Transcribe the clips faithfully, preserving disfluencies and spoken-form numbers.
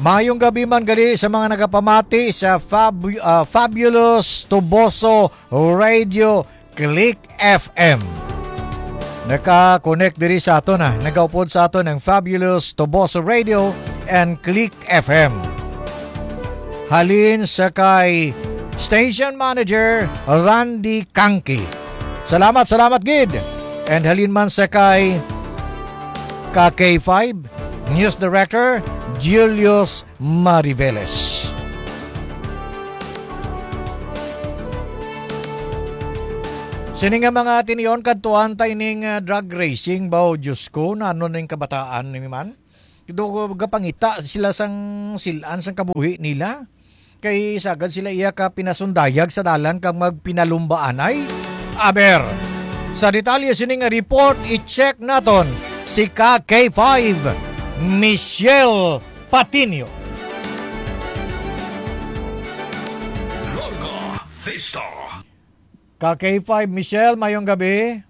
Mayong gabi man gali sa mga nagapamati sa Fab-, ah, Fabulous Toboso Radio Click F M. Naka-connect diri sa aton, ah. Nagaupod sa aton ang Fabulous Toboso Radio and Click F M. Halin sa kay Station Manager Randy Kangki. Salamat, salamat gid. And halin man sa kay ka K five News Director Julius Mariveles. Sini nga mga tinion, kadtuan ta ining, ah, drag racing ba, o Diyos ko, nano ning kabataan ni man? Do, gapangita sila sang silan sang kabuhi nila. Kay sagad sila iya ka pinasundayag sa dalan kag magpinalumbaanay. Aber, sa detalye sini nga report, i-check naton si ka K five, Michelle Patinio. Larga Vista. Ka K five, Michelle, mayong gabi.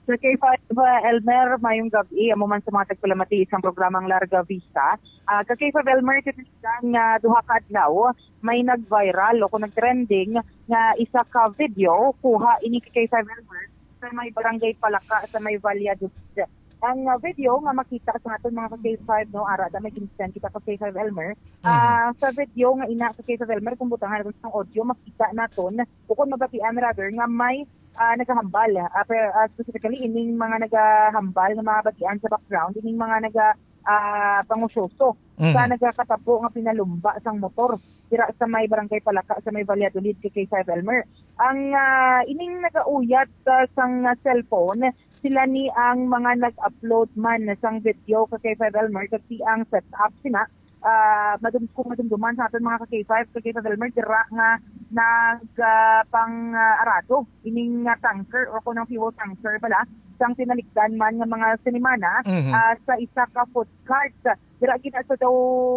Sa K five, uh, Elmer, mayong gabi. Amo man sa mga tagpalamati isang programang Larga Vista. Ah, ka K five Elmer, titigan nga duha ka adlaw, may nag-viral o kung nag-trending nga isa ka video, kuha ini ka K five Elmer, sa may barangay Palaka, sa may Valladolid. Ang, ah, video nga makita sa aton mga ka K five, no, ara, da may ginsend kita ka K five Elmer. Mhm. Ah, sa video nga ina ka K five Elmer, kung butangan naton ang audio, makita naton, o kung mabatian rather, nga may, ah, nagahambal, ah, per-, ah, specifically, ining mga nagahambal nga mga batian sa background, ining mga naga-, ah, pangusyoso sa Mhm. nagakatabo nga pinalumba sang motor dira sa may Barangay Palaka, sa may Valladolid, ka K five Elmer. Ang, ah, ining nagauyat, ah, sang, ah, cellphone, sila ni ang mga nag-upload man sang video, ka K five Elmer, kag ti ang setup sina, ah, madum-, kung madumduman sa aton mga ka K five, ka K five Elmer, dira nga nag, ah, pang, ah, arado ining, ah, tanker o kung ang fuel tanker pala sang tinalikdan man nga mga sinimana, Mhm. ah, sa isa ka food cart. Dira gina sa daw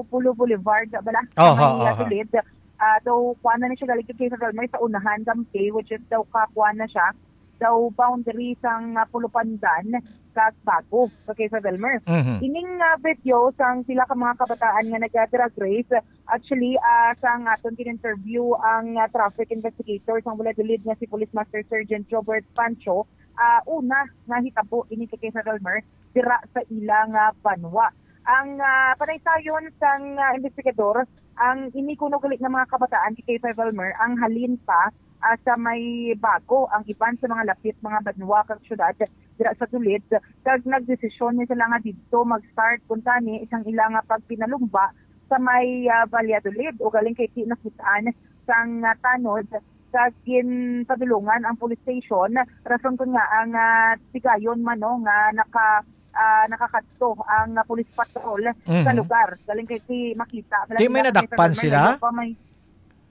Polo Boulevard, bala, sa Aha, may, ah, aha. Tulid. Ah, daw, kuha na ni siya galing kay Kaysa Dalmay sa unahan, Gampi, which is daw kakuha na siya, daw boundary sang, ah, Polo Pandan, kag Bago, sa Kaysa Dalmar. Mhm. Ining, ah, video sang pila ka mga kabataan nga naga-drag race, actually, ah, sang aton gin-interview ang, ah, traffic investigator sang Valladolid nga si Police Master Sergeant Jobert Pancho, ah, una nga hitabo ini kay Kaysa Dalmar, dira sa ila nga banwa. Ang, ah, panaysayon sang, ah, investigador, ang ini kuno gali nga mga kabataan kay Kay Valmer ang halin pa, ah, sa may Bago, ang iban sa mga lapit mga banwa kag syudad dira sa Tulid, kag nagdesisyon ni sila nga didto mag-start kuntani isang ila nga pagpinalumba sa may, ah, Valladolid, ugaling kay ti nakit-an sang, ah, tanod kag ginpadulungan ang police station, rason kun nga ang, ah, tigayon man, no, nga naka, ah, nakakadto ang, ah, police patrol sa Mhm. lugar. Galing kay si makita, Di may malaki na nadakpan sila? May,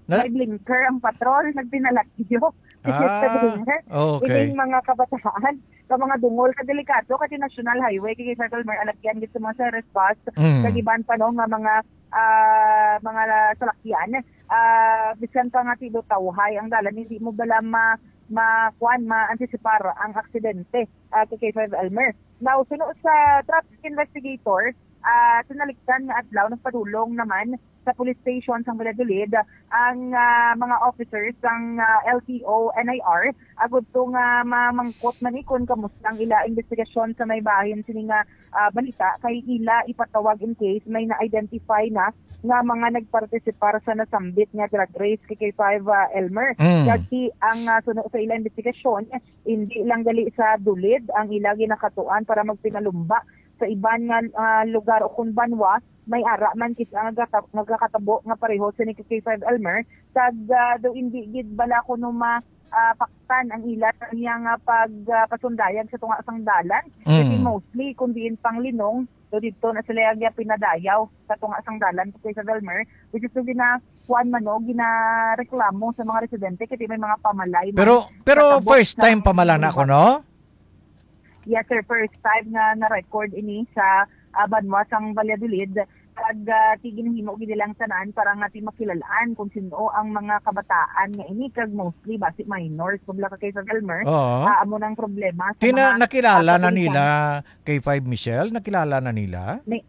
Na- may blinker ang patrol, nagpinalagyo. Ah, okay. Ining mga kabataan, sa mga dungol, ka delikado, kasi National Highway, kay Circle Mer, alagyan gid sa mga service bus, Mm. kag iban pa, no, nga mga, ah, mga salakyan. Ah, bisan pa nga tilo tawhay ang dalan, hindi mo bala ma-, ma-, kuwan, ma-antisipar ang aksidente, ah, kay K five Elmer. Now, suno sa traffic investigator, ah, tinalikdan nga adlaw, nagpadulong naman sa police station sang Valladolid ang, ah, mga officers sang, ah, L T O N I R, agud to nga mamangkot man ni kun kamusta ang ila investigasyon sa may bahin sini nga, ah, balita, kay ila ipatawag in case may na-identify na nga mga nagpartisipar sa nasambit nga drag race kay K five, ah, Elmer. Mm. Kag ti ang, ah, suno sa ila investigasyon, hindi lang gali sa Dulid ang ila ginakatuan para magpinalumba sa iban nga, ah, lugar o kun banwa, may ara man kita nga gata-, nga gakatabo nga pareho sa ni K five Elmer, kag, ah, daw hindi gid bala kuno ma-, ah, paktan ang ila niya nga pag, ah, pasundayag sa tunga sang dalan. Kasi Mm. mostly, kung diin pang linong, daw didto na sila yung pinadayaw sa tunga sang dalan, K five Elmer, which is daw gina-, kuwan man, no, ginareklamo sa mga residente, kasi may mga pamalay man Pero, pero katabo first sa time pa man lang na ako, no? Yes, sir. First time nga na-record ini sa, ah, banwa sang Valladolid. Kag, ah, ti ginahimo gid nilang tanan para nga ti makilalaan kung sino ang mga kabataan nga ini, kag mostly basi minors. Kung wala ka kay sa Elmer, Oo. ah, amo nang problema sa Tina-, mga, nakilala ah, na kapulisan. Nila, K five Michelle? Nakilala na nila? Ni-,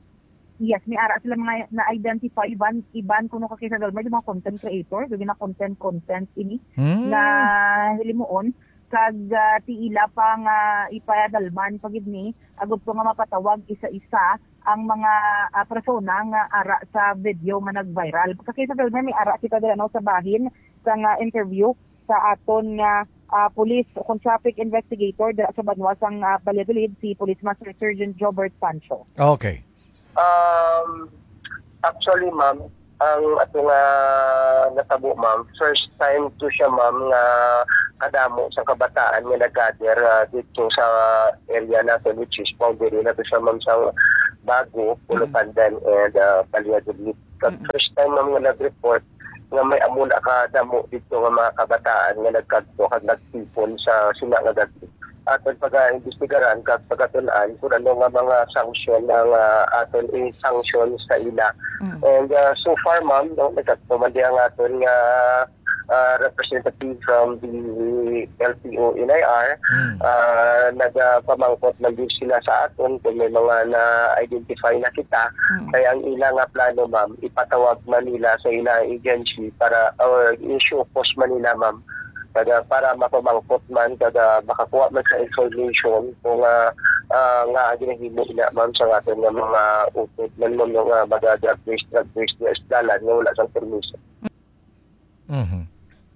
Yes, may ara sila mga na-identify iban, iban kuno ka kay Sagar, may mga content creator, so gina-content, content ini Hmm. na hilimuon, kag, ah, ti ila pa nga ipadalman pa gid ni, agud ko nga mapatawag isa-isa ang mga, ah, persona nga ara sa video nga nag-viral. Ka kay Sagar, may ara kita dira, no, sa bahin sa nga interview sa aton nga, ah, police o kung traffic investigator dira sa banwa sang, ah, Valladolid, si Police Master Sergeant Jobert Pancho. Okay. Um, actually, ma'am, ang ato nga natabo, ma'am, first time to siya, ma'am, nga kadamo sa kabataan nga nag-gather, ah, dito sa area natin, which is boundary na to siya, ma'am, sa Bago, Mm. Pulupandan, and, ah, Valladolid. Kag Mm. first time, ma'am, nga nag-report nga may amo na kadamo dito nga mga kabataan nga nagkadto kag nagtipon sa sina nga gagi. Aton pag-imbestigaran kag pagatunan kung ano nga mga sanction ang, ah, aton i-sanction sa ila. Mm. And, ah, so far, ma'am, no, nagkadto man di ang aton nga, ah, representative from the L T O N I R, Mm. ah, nagapamangkot man din sila sa aton kung may mga na-identify na kita. Mm. Kaya ang ila nga plano, ma'am, ipatawag man nila sa ilang agency para, or i-show cause man nila, ma'am, kada para mapamangkot man, kada makakuha man sa information kung, ah, ah, nga ginahimo ina, ma'am, sa aton nga mga utod man, ma'am, nga mga drug race, drug race nga isdalan nga wala sang permiso. Mhm.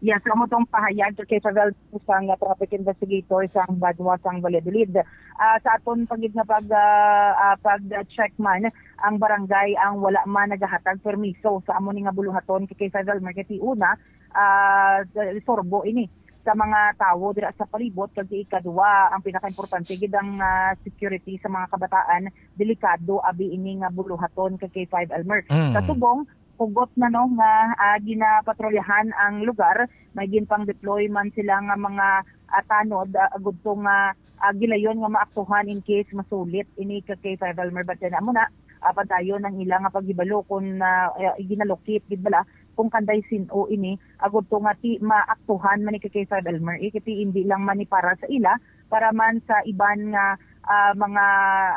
Yes, amo tong pahayag kay Isabel, sang traffic investigator sang Banwa sang Valladolid. Ah, sa aton pa gid nga pag, ah, ah, pag-check man, ang barangay ang wala man nagahatag permiso sa amo ni nga buluhaton kay Isabel, kay ti una, ah, sorbo ini sa mga tawo dira sa palibot, kag ti ikaduha, ang pinakaimportante gid ang, ah, security sa mga kabataan, delikado abi ini nga buluhaton kay K five Elmer. Mm. Sa subong, hugot na, no, nga, ah, ginapatrolyahan ang lugar. May ginpang-deploy man sila nga mga, ah, tanod, ah, agud to nga, ah, gilayon nga maaktuhan in case masulit ini ka K five Elmer. But then, amo na, ah, padayon ang ila nga paghibalo kung, ah, eh, ginalokit gid bala kung kanday sin-o ini, agud to nga ti maaktuhan man ni ka K five Elmer, eh, kay ti hindi lang man ni para sa ila, para man sa iban nga, ah, mga,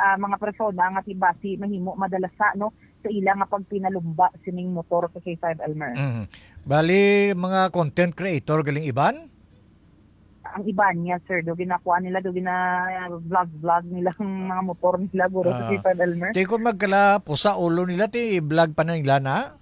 ah, mga persona nga ti basi mahimo madalasa, no, sa ila nga pagpinalumba sining motor ka K five Elmer. Mm. Bali, mga content creator galing iban? Ang iban niya, sir, do ginakuha nila, do gina-vlog-vlog nila ang mga motor nila, guro, sa Ah. K five Elmer. Ti kung magkalapo sa ulo nila, ti vlog pa na nila na?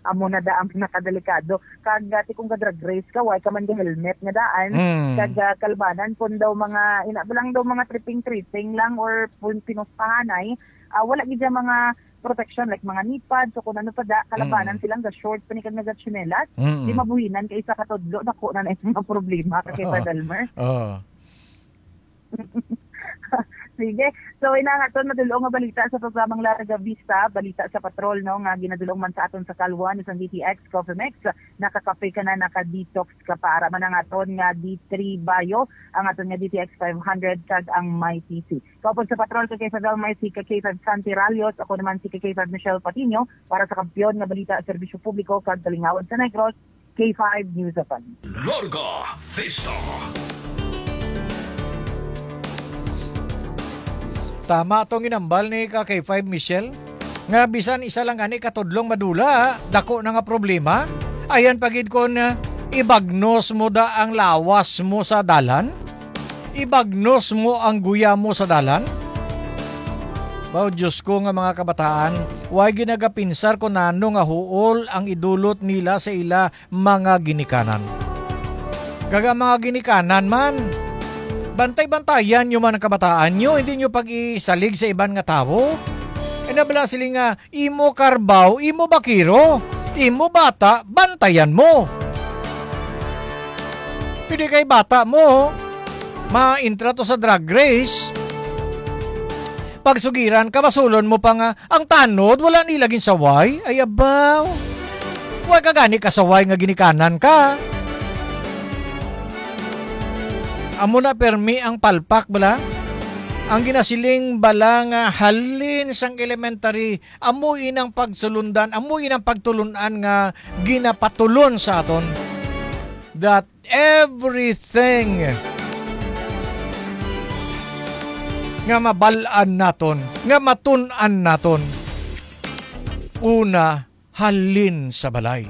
Amo na da ang pinakadelikado. Kag, ah, ti kung ga-drag race ka, why ka man ga-helmet nga daan? Mm. Kag, ah, kalbanan pun daw mga, ina ba lang daw mga tripping-tripping lang or pun pinustahanay, ah, wala gid siya mga protection, like mga knee pads o kung ano pa da, kalabanan Mm. silang ga-short pa ni kag naga-tsinelas. Mm. Di mabuhinan kay isa ka tudlo, dako na na yung mga problema ka kay Oo. Sir Elmer. Oo. Sige. So, ina nga aton madulong nga balita sa programang Larga Vista, balita sa patrol, no, nga ginadulong man sa aton sa Kalwa ni sang D T X Coffee Mix. Nakakape ka na, naka-detox ka pa. Ara man ang aton nga D three Bio, ang aton nga D T X five hundred, kag ang My T C. Kaupod sa patrol ka kay Fidel Maisi, ka K five Santi Ralios, ako naman si ka K five Michelle Patiño, para sa Kampiyon nga Balita, Serbisyo Publiko, kag Kalingawad sa Negros, K five News F M. Larga Vista. Tama tong ginambal ni ka K five Michelle, nga bisan isa lang gani ka tudlong madula, dako na nga problema. Ayan pa gid kon, ah, ibagnos mo da ang lawas mo sa dalan. Ibagnos mo ang guya mo sa dalan? Baw, Diyos ko nga mga kabataan, way ginagapinsar ko nano nga huol ang idulot nila sa ila mga ginikanan. Kag ang mga ginikanan man, bantay-bantayan nyo man ang kabataan nyo, hindi nyo pag-isalig sa iban nga tawo. Ay nabala sila nga, imo karbaw, imo bakiro, imo bata, bantayan mo. Pwede kay bata mo, ma-intra to sa drag race. Pagsugiran ka, basulon mo pa nga, ang tanod, wala nila ginsaway. Ay, abaw. Wa ka gani kasaway nga ginikanan ka. Amo na permi ang palpak, bala? Ang ginasiling bala nga halin sang elementary, amo inang pagsulundan, amo inang pagtulun-an nga ginapatulon sa aton. That everything nga mabal-an naton, nga matun-an naton, una halin sa balay.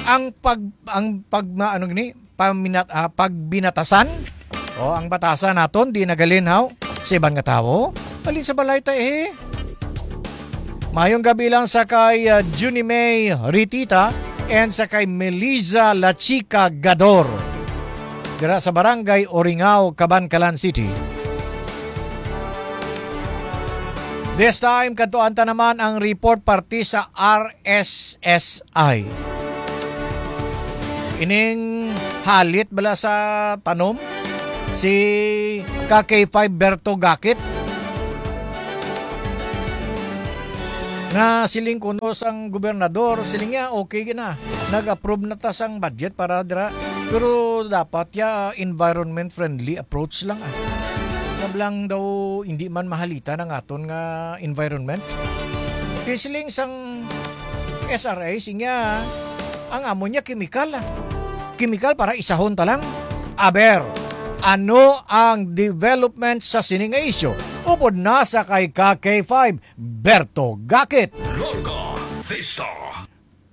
Ang pag-, ang pag-, ma-, ano gini? Paminat-, ah, pagbinatasan? O, ang batasan naton, di nagalinhaw sa iban nga tawo. Halin sa balay ta, eh. Mayong gabi lang sa kay, ah, Junie May Ritita and sa kay Melissa La Chica Gador. Dira sa Barangay Oringao, Kabankalan City. This time, kadtuan ta naman ang report parte sa R S S I. Ining halit bala sa tanom, si ka K five Berto Gakit, na siling kuno sang gobernador, siling niya, okay na, nag-approve na ta sang budget para dira. Pero dapat ya environment friendly approach lang, ah. Kablang daw hindi man mahalitan ang aton nga environment. Kay siling sang S R A, siling niya, ang amo niya chemical, ah. Chemical para isahon ta lang. Aber, ano ang development sa sini nga isyu? Upod na sa kay ka K five, Berto Gakit. Larga Vista.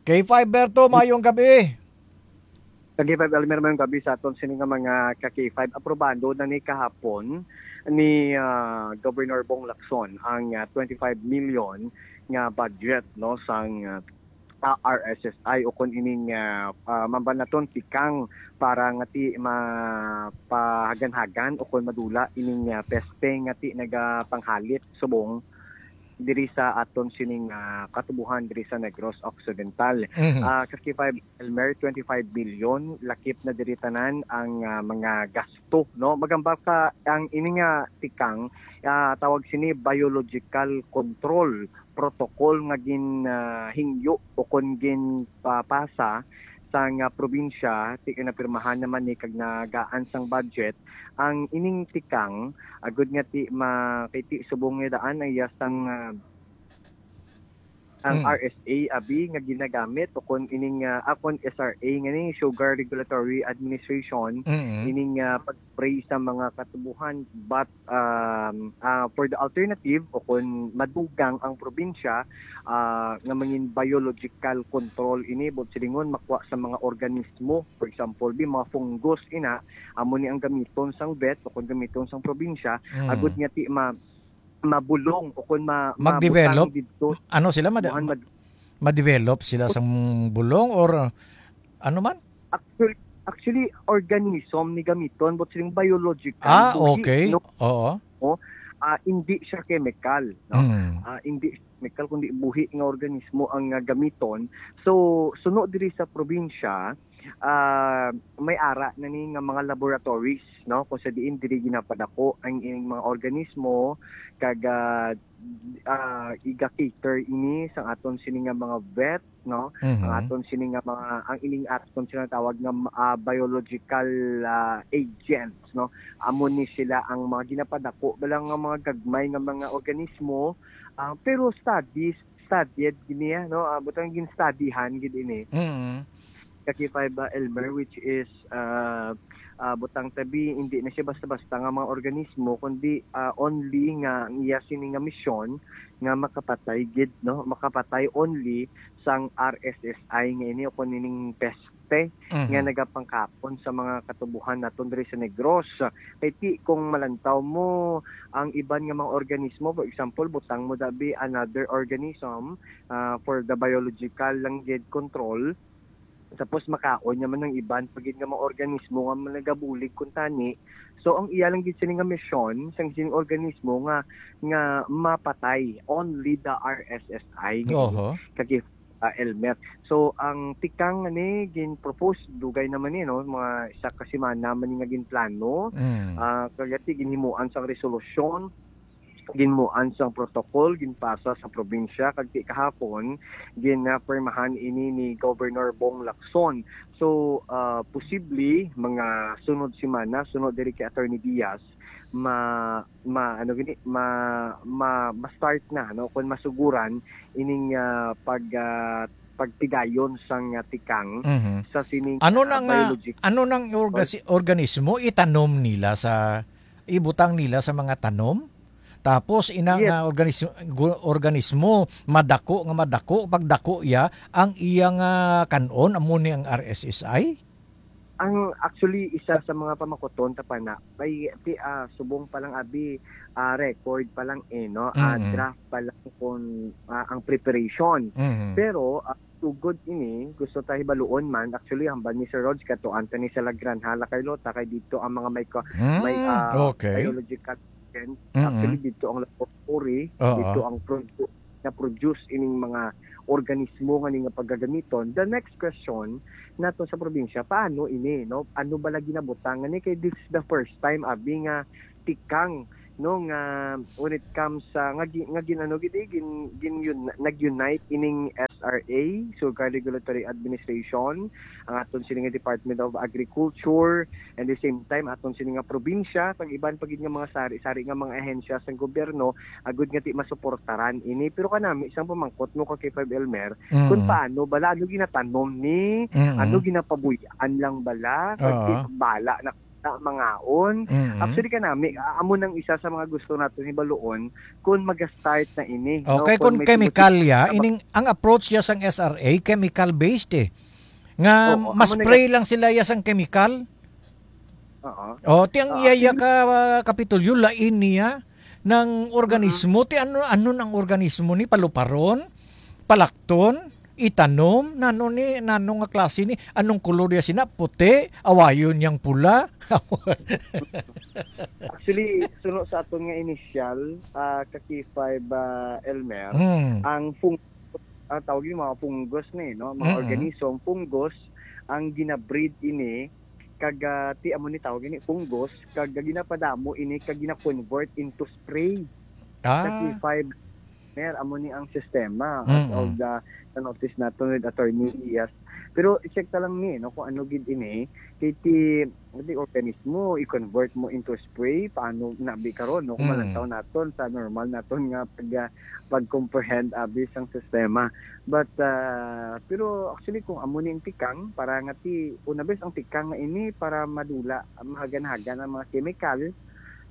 K five Berto, mayong gabi. Ka K five Elmer, mayong gabi sa aton sini nga mga ka K five. Aprobado na ni kahapon ni, ah, Governor Bong Lacson ang, ah, twenty-five million nga budget, no, sang, ah, ah, R S S I o kon ining, ah, ah, mambal naton tikang para nga ti mapahaganhagan o kon madula ining, ah, peste nga ti nagapanghalit subong diri sa aton sining, ah, katubuhan diri sa Negros Occidental. Mhm. Ah, ka K five Elmer, twenty-five billion, lakip na diri tanan ang, ah, mga gasto, no? Magamba ka ang ini nga tikang, ah, tawag sini biological control protocol nga gin, ah, hingyo o kon ginpapasa sang, ah, probinsya, ti-, napirmahan naman ni kag nagaan sang budget ang ining tikang, agud nga ti ma-, kay ti subong nga daan ang iya sang, ah, ang Mm. R S A abi nga ginagamit o kon ining, ah, ah, kon S R A nga ni Sugar Regulatory Administration, Mm. ining, ah, pag-spray sa mga katubuhan. But, um, ah, for the alternative o kon madugang ang probinsya, ah, nga mangin biological control ini, but silingon makuha sa mga organismo, for example, bi mga fungus ina, amo ni ang gamiton sang vet o kon gamiton sang probinsya, Mm. agud nga ti ma-, mabulong o kon ma-, Mag-develop? mabutang didto. Ano sila? Mad-, Buhan mad-, ma-develop sila sang bulong or, uh, ano man? Actually, actually, organism ni gamiton, but siling biological, Ah, buhi, okay. no? Oo. O, ah, hindi siya chemical, no? Mm. Ah, hindi siya chemical, kundi buhi nga organismo ang, ah, gamiton. So, suno diri sa probinsya, ah, may ara na ni nga mga laboratories, no? Kung sa diin diri ginapadako ang ining mga organismo, kag, ah, ah, iga-cater ini sa aton sini nga mga vet, no? Mhm. Ang aton sini nga mga, ang ining aton sila tawag nga, ah, biological, ah, agents, no? Amo ni sila ang mga ginapadako bala nga mga gagmay nga mga organismo, ah, pero studies, studied gini, ah, no? Ah, butang gin-studyhan gid ini. Mhm. Ka K five, ah, Elmer, which is, ah, ah, butang tabi, hindi na siya basta-basta nga mga organismo, kundi, ah, only nga ang iya sini nga misyon nga makapatay gid, no? Makapatay only sang R S S I nga ini o kung ining peste Mhm. nga nagapangkapon sa mga katubuhan naton diri sa Negros. Kay ti, kung malantaw mo ang iban nga mga organismo, for example, butang mo dabi another organism, ah, for the biological lang gid control, tapos makaon niya man ang iban pa gid nga mga organismo nga nagabulig kuntani. So, ang iya lang gid sini nga misyon sang sining organismo nga, nga mapatay only the R S S I nga Oho. kag, ah, Elmer. So, ang tikang nga ni gin-propose, dugay naman ni, no, mga isa ka semana man ni nga ginplano. Mm. Ah, kagati ginhimuan sang resolusyon, ginmuan sang protocol, ginpasa sa probinsya, kag ti kahapon, ginapirmahan ini ni Governor Bong Lacson. So, ah, posible, mga sunod semana, sunod diri kay Attorney Diaz, ma-, ma-, ano gini, ma-, ma-, ma-start na, no? Kung masuguran, ining, ah, pag, ah, pagtigayon sang, ah, tikang Mhm. sa sining, Ano ah, na nga, biological ano nang orga-, organismo itanom nila sa, ibutang nila sa mga tanom? Tapos ina Yes. nga organis-, gu-, organismo, madako nga madako, pagdako iya, ang iyang, ah, kan-on, amo ni ang R S S I? Ang, actually, isa sa mga pamakuton ta pa na, may, ti-, ah, subong pa lang, abi, ah, record pa lang, eh, no? Ah, Mm. draft pa lang kung, ah, ang preparation. Mhm. Pero, ah, sugod ini, gusto ta hibaluon man, actually, hambal ni Sir Rog, katuan ta ni sa Lagranha, La Carlota, kay dito ang mga may ka-, may, Mm, ah, okay. biological agent. Mm-mm. Actually, dito ang laboratory, Oo. dito ang produ-, na-produce ining mga organismo nga ni nga pagagamiton. The next question nato sa probinsya, paano ini, no? Ano ba lagi nabutang nga ni? Kay this is the first time, abi, nga tikang, no, nga when it comes sa, nga gi-, nga gin-, ano gid, eh, gin-, gin-, yun, nag-unite ining S R A, Sugar Regulatory Administration, ang aton sini nga Department of Agriculture, and the same time, aton sini nga probinsya, kag iban pa gid nga mga sari-sari nga mga ahensya sang gobyerno, agud nga ti masuportaran ini. Pero kanami, isang pamangkot mo ka kay Five Elmer, kung Mm. paano bala, ano ginatanom ni, Mm. ano ginapabuy-an lang bala, kag Oo. ti bala na, na mangaon. Mm. Actually, kanami, a-, amo nang isa sa mga gusto naton hibaluon kung maga-start na ini, no? Okay, Kung kung may chemical ya, sumusunod na ining, ang approach ya sang S R A, chemical-based, eh. Nga Oo, amo na ma-spray lang sila ya sang chemical. Oo. Oh, ti ang Ah, iya ya actually ka, ah, Kapitolyo, lain niya nang organismo. Mm. Ti ano, ano nang organismo ni? Paluparon? Palakton? Itanom? Nano ni, nano nga klase ni? Anong kolor ya sina? Puti? Awayon yang pula? Actually, suno sa aton nga inisyal, ah, ka K five, ah, Elmer, Hmm. ang fung-, ah, tawag yung mga fungus ni, no? Mga Mm-mm. organism, fungus, ang ginabreed ini, kag, ah, ti amo ni tawag ini, fungus, kag ginapadamo ini, kag gina-convert into spray. Sa Ah. K five, Mer, amo ni ang sistema as Mm-mm. of the, the notice nato with Attorney Diaz. Pero i-check ta lang ni, no, kung ano gid ini. Kay ti, di organismo, i-convert mo into spray, paano na bi karon, no? Kung Mm. malantaw naton sa normal naton nga pag, ah, pag-comprehend, abi, sang sistema. But, ah, pero actually, kung amo ni ang tikang, para nga ti, una bes ang tikang nga ini, para madula, mahagan-hagan ang mga chemical,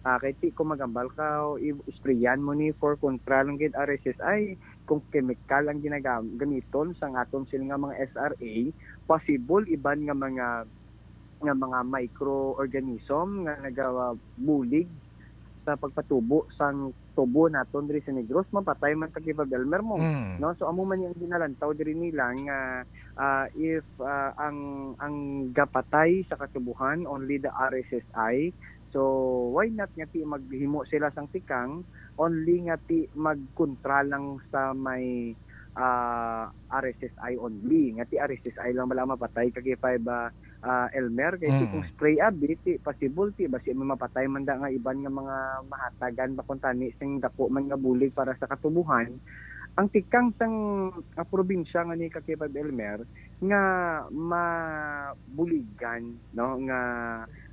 ah, kay ti kung magambal ka, i-, sprayan mo ni for kontra lang gid R S S I, kung chemical ang ginagam-, gamiton sang aton sila nga mga S R A, possible iban nga mga, nga mga microorganism nga nagabulig sa pagpatubo sang tubo naton diri sa Negros, mapatay man ta kay Babelmer mo. Mm. No? So, amo man yung ginalantaw diri nila nga, ah, if, ah, ang, ang gapatay sa katubuhan, only the R S S I, so, why not nga ti maghimo sila sang tikang, only nga ti magkontra lang sa may, ah, R S S I only, nga ti R S S I lang bala mapatay kag K five, ah, ah, Elmer, kay ti kung Mm. spray abi, ti possible, ti basi may mapatay man da nga iban nga mga mahatagan ba kung tani sing dako man nga bulig para sa katubuhan. Ang tikang sang, ah, probinsya nga ni ka K five Elmer, nga mabuligan, no, nga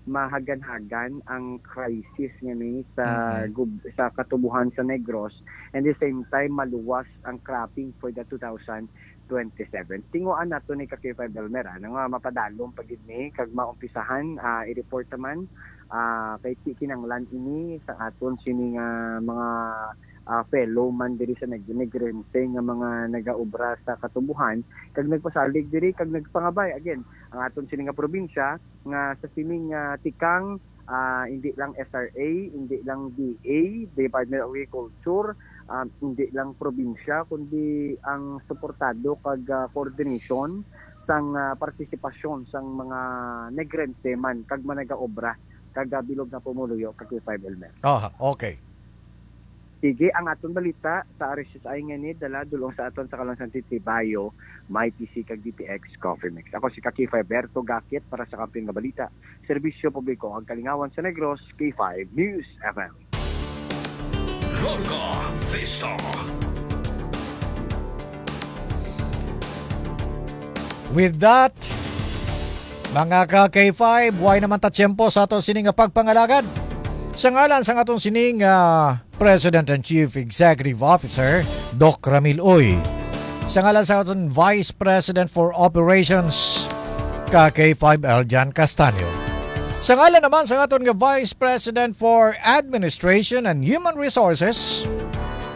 mahagan-hagan ang crisis nga ni sa Mm-mm. gub-, sa katubuhan sa Negros, and the same time maluwas ang cropping for the two thousand twenty-seven. Tinguan nato ni ka K five Elmer, ah, nga mapadalom pa gid ni kag maumpisahan, ah, i-report naman, ah, kay ti kinanglan ini sa aton sini nga mga, ah, fellow man diri sa Neg-, Negrense nga mga nagaobra sa katubuhan kag nagpasalig diri kag nagpangabay. Again, ang aton sini nga probinsya nga sa sining, ah, tikang, ah, hindi lang S R A, hindi lang D A, Department of Agriculture, ah, hindi lang probinsya, kundi ang suportado kag, ah, coordination sang, ah, partisipasyon sang mga Negrense man kag managaobra kag, ah, bilog nga pumuluyo kag K five Elmer. Aha, okay. Sige, ang aton balita sa R S S I nga ni dala dulong sa aton sa Kalansan City Bayo, may P C kag D T X Coffee Mix. Ako si ka K five Berto Gakit para sa Kampiyon nga Balita, Serbisyo Publiko ug Kalingawan sa Negros, K five News F M. Roca Vista. With that, mga ka K five, way naman ta tiyempo sa aton sining nga pagpangalagad. Sa ngalan sa aton sining, ah, President and Chief Executive Officer, Doc Ramil Uy. Sa ngalan sa aton Vice President for Operations, ka K five Eljan Castaño. Sa ngalan naman sa aton nga Vice President for Administration and Human Resources,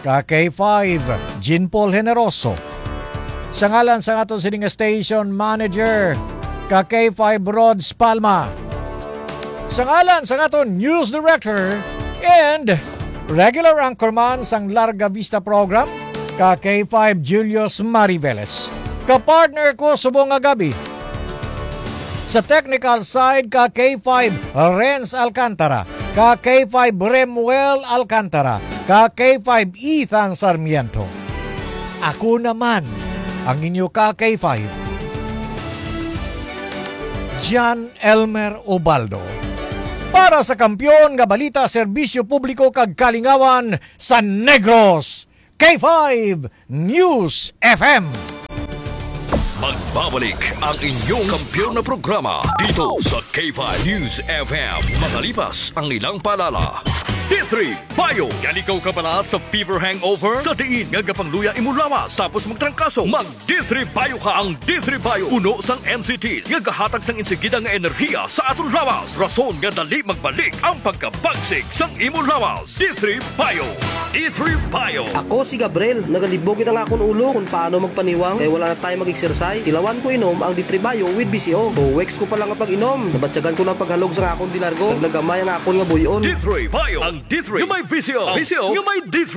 ka K five, Jean Paul Generoso. Sa ngalan sa aton sini nga station manager, ka K five, Rods Palma. Sa ngalan sa aton news director and regular anchorman sang Larga Vista program, ka K five, Julius Mariveles. Ka partner ko subong nga gabi, sa technical side, ka K five, Renz Alcantara, ka K five, Remuel Alcantara, ka K five, Ethan Sarmiento. Ako naman ang inyo ka K five, John Elmer Ubaldo. Para sa kampiyon nga balita, serbisyo publiko kag kalingawan sa Negros, K five News F M. Magbabalik ang inyong kampiyon na programa dito sa K five News F M. Makalipas ang ilang paalala. D three Bio. Galigaw ka bala sa fever hangover? Sa diin nga gapangluya imo lawas tapos magtrangkaso, mag D three Bio ka. Ang D three Bio puno sang N C Ts nga gahatag sang insigida nga enerhiya sa aton lawas, rason nga dali magbalik ang pagkabagsik sang imo lawas. D three Bio. D three Bio. Ako si Gabriel. Nagalibog gid ang akon ulo kung paano magpaniwang kay wala na tayo mag-exercise. Tilawan ko inom ang D three Bio with B C O. Two weeks ko pa lang ang pag-inom. Nabatyagan ko ng paghalog sa akon dinargo. Naglagamay ang akon nga buyon. D three Bio. Ang D three nga may V C O. Ang V C O nga may D three.